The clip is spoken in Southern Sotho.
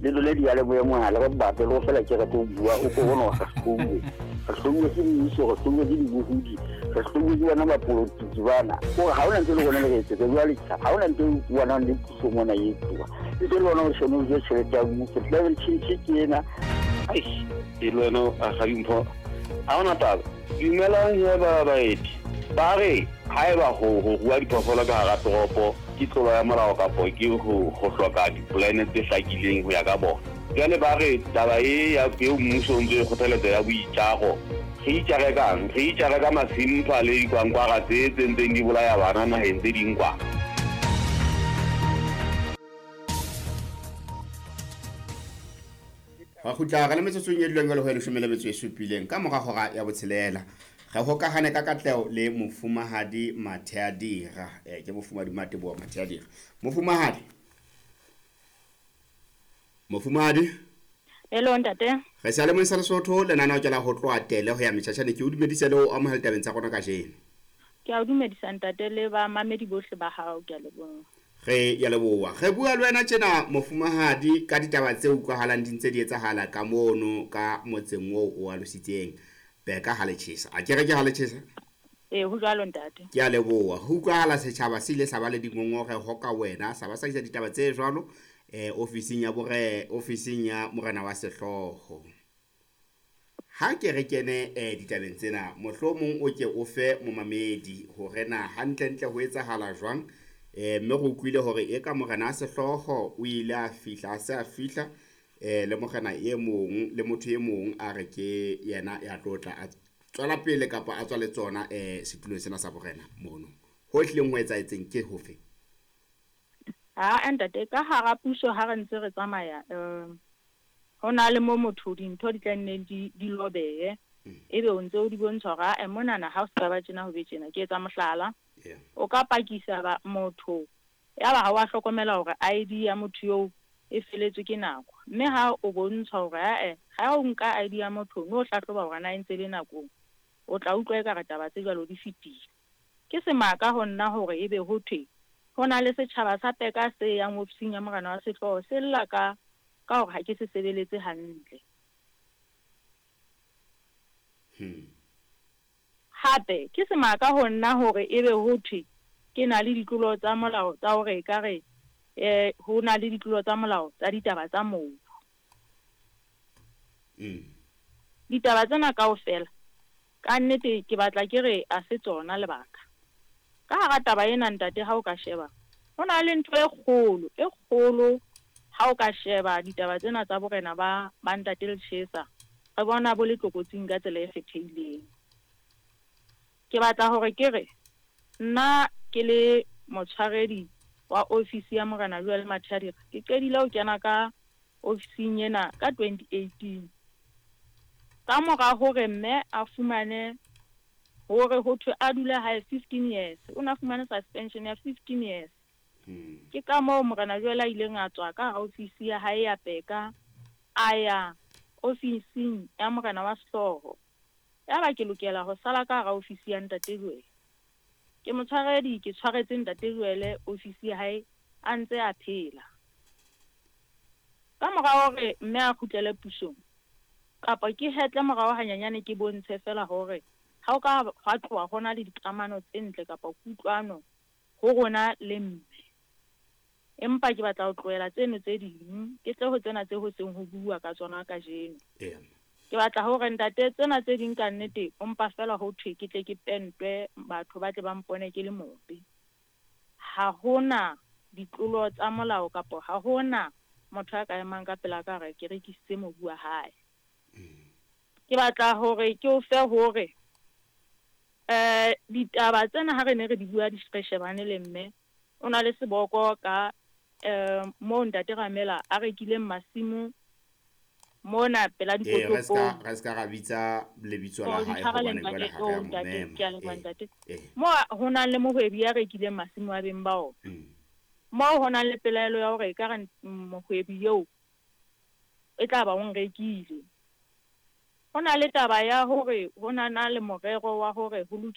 Le dule diyalemoya mohala ba batle le go fela ke re tlo bua o ko bona re hlouwe, re hlouwe ke mmuso, re hlouwe ke dibohodi, re hlouwe ke bona bapolotiki bana. Kore ha hona ntho e le rona le re etsetsa jwale ha hona ntho e bonang le puso mona e etsuwa. Ntse le bona o shone o je tjhelete ya mmuso, climate change ke ena. Eish, e le wena Rakgadi Mpho, ha hona taba. Dumelang he ba baeti. Ba re haeba ho ho rua diphoofolo ka hara toropo ke tlolo ya molao kapo ke ho ho hloka dipolane tse hlakileng ho ya ka bona. Jwale ba re taba e ya eo mmuso o ntso e kgothaletsa ya boitjaro, re itjare kang? Re itjare ka masimpha le dikwankwara tse tse ntseng di bolaya bana naheng tse ding kwa. Ra kgutla re le metsotsong e duleng jwalo ho ya leshome le metso e supileng ka mora hora ya botshelela. Re hokahane ka katleho le Mofumahadi Matheadira. Eh, ke Mofumahadi Mateboho Matheadira. Mofumahadi. Mofumahadi. Hello ntate. Re sa le moisa Lesotho lenaneo ke la ho tloha tele ho ya metjhatjhane ke o dumedise le o amohela tabeng tsa rona kajeno. Ke a o dumedisa ntate le ba mamedi bohle ba hao ke a leboha. Re ya leboha. Re bua le wena tjena mofumahadi ka ditaba tse utlwahalang di ntse di etsahala ka mono ka motseng oo o alositseng. Beka ha le tjhesa. A ke re ke ha le tjhesa? Ee, ho jwalo ntate. Ke a leboha. Ho utlwahala setjhaba se ile sa ba le dingongoreho ka wena, sa ba sa isa ditaba tse jwalo eh ofising ya bore ofising ya morena wa sehlooho. Ha ke re kene eh ditabeng tsena, mohlomong o ke o fe momamedi hore na hantlentle ho etsahala jwang. Eh mme re utlwile hore eka morena wa sehlooho o ile a fihla a se a fihla eh le morena e mong le motho e mong a re ke yena ya tlo tla a tswela pele kapa a tswa le tsona eh setulong sena sa borena mono. Ho hlileng ho etsahetseng ke hofe? Ha ntate, ka hara puso ha re ntse re tsamaya ho na le mo motho dintho di tla nne di lobehe. Ebe o ntse o di bontsha hore ae monana ha o se ka ba tjena ho be tjena. Ke etsa mohlala. O ka pakisa ba motho ya ba ha wa hlokomela hore ID ya motho eo e feletswe ke nako. Mme ha o bontsha hore ae ha o nka ID ya motho no hlahloba hore na e ntse le nakong, o tla utlwa ekare taba tse jwalo di fetile. Ke semaka ho nna hore ebe ho thwe ho na le setjhaba sa Peka se yang ofising ya morena wa sehlooho se lla ka ka hore ha ke se sebeletse hantle. Hape ke semaka ho nna hore ebe ho thwe ke na le ditlolo tsa molao tsa hore ekare ho na le ditlolo tsa molao tsa ditaba tsa mobu. Ditaba tsena kaofela ka nnete ke batla ke re a se tsona lebaka. Ka hara taba ena ntate ha o ka sheba ho na le ntho e kgolo e kgolo ha o ka sheba ditaba tsena tsa borena ba ba ntate Lechesa re bona bo le tlokotsing ka tsela e kgethehileng. Ke batla hore ke re nna ke le motshwaredi wa ofisi ya morena Joel Matheadira ke qedile ho kena ka ofising ena ka 2018. Ka mora hore mme a fumane hore ho thwe a dule hae 15 years, o na fumane suspension ya 15 years. Ke ka moo morena Joel a ileng a tswa ka hara ofisi ya hae ya Peka a ya ofising ya morena wa sehlooho. Yaba ke lokela ho sala ka hara ofisi ya ntate Joel. Ke motshwaredi ke tshwaretse ntate Joel ofisi ya hae a ntse a phela. Ka mora hore mme a kgutlele pusong kapa ke hetle morao hanyanyane ke bontshe fela hore ha o ka hwa tloha ho na le dikamano tse ntle kapa kutlwano ho rona le mme. Empa ke batla ho tlohela tseno tse ding ke tle ho tsena tse ho seng ho bua ka tsona kajeno. Ke batla hore ntate tsena tse ding ka nnete o mpa fela ho thwe ke tle ke pentwe batho ba tle ba mpone ke le mobe. Ha hona ditlolo tsa molao kapa ha hona motho a ka emang ka pela ka re ke rekisitse mobu wa hae. Ke batla hore ke o fe hore ditaba tsena ha re ne re di bua di re shebane le mme o na le seboko ka moo ntate Ramela a rekileng masimo mona pela dikotopong. Re ska ra bitsa lebitso la hae hobane jwale ha re a mo mema. Ke a leboha ntate. Mo ho na le mohwebi ya rekileng masimo a beng ba ona. Moo ho nang le pelaelo ya hore ekare mohwebi eo e tla ba o nrekile. Ho na le taba ya hore ho na na le morero wa hore ho lokiswe